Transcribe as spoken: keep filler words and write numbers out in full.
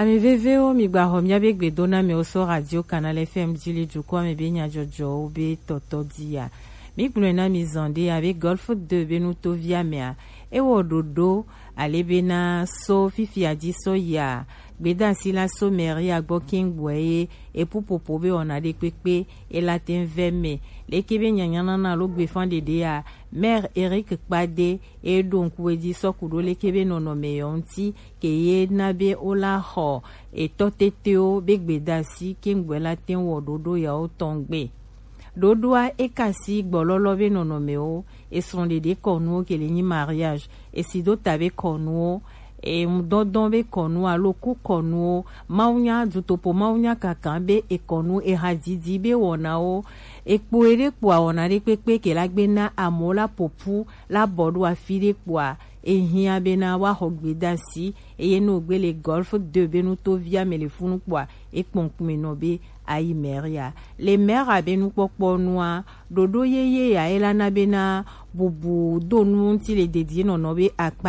Ami vevewo, mi gba xɔ miabe gbedonamɛwo so Radio Canal F M ji le dukɔ me be nyajɔjɔwo be tɔtɔ di ya. Mi gblɔe na mi zɔn ɖe abe Golf deux be nutovia mea, ewɔ ɖoɖo ale be na so fifia ji so ya gbedasi la so mɛria gbɔ kɛŋgbɔɛ ye epupopo be wɔna ɖe kpekpe ela te ŋ vɛ mɛ. Leke be nyanyanana alo gbefan ɖeɖe ya, Maire Eric Kpade e ɖo ŋku edzi sɔ ku ɖo leke be nɔnɔme yɔ ŋuti ke ye na be wo la xɔ etɔ tetewo be gbedasi ke ŋgbɛ la te wɔ ɖoɖo yawo tɔn gbe. Ɖoɖoa e kasi gbɔlɔlɔ be nɔnɔmewo, esrɔ̃ɖeɖe kɔnuwo ke le nyi mariage, esidota be kɔnuwo, eŋudɔdɔn be kɔnu alo ku kɔnuwo, mawunya dutopo mawunya kaka be ekɔnu ehadidi be wɔnawo, ekpo eɖe kpo awɔna ɖe kpekpe ke la gbe na amewo la popu la bɔ ɖo afi ɖe kpoa, ehiã bena woaxɔ gbedasi eye ne wògbe le Golf deux be nutovia me le funu kpoa, ekpɔ ŋkume nɔ be ayi mɛria. Le mɛra be nukpɔkpɔ nua, ɖoɖo yeye ya ela na bena bubu do nu ŋuti le dedienɔnɔ be akpa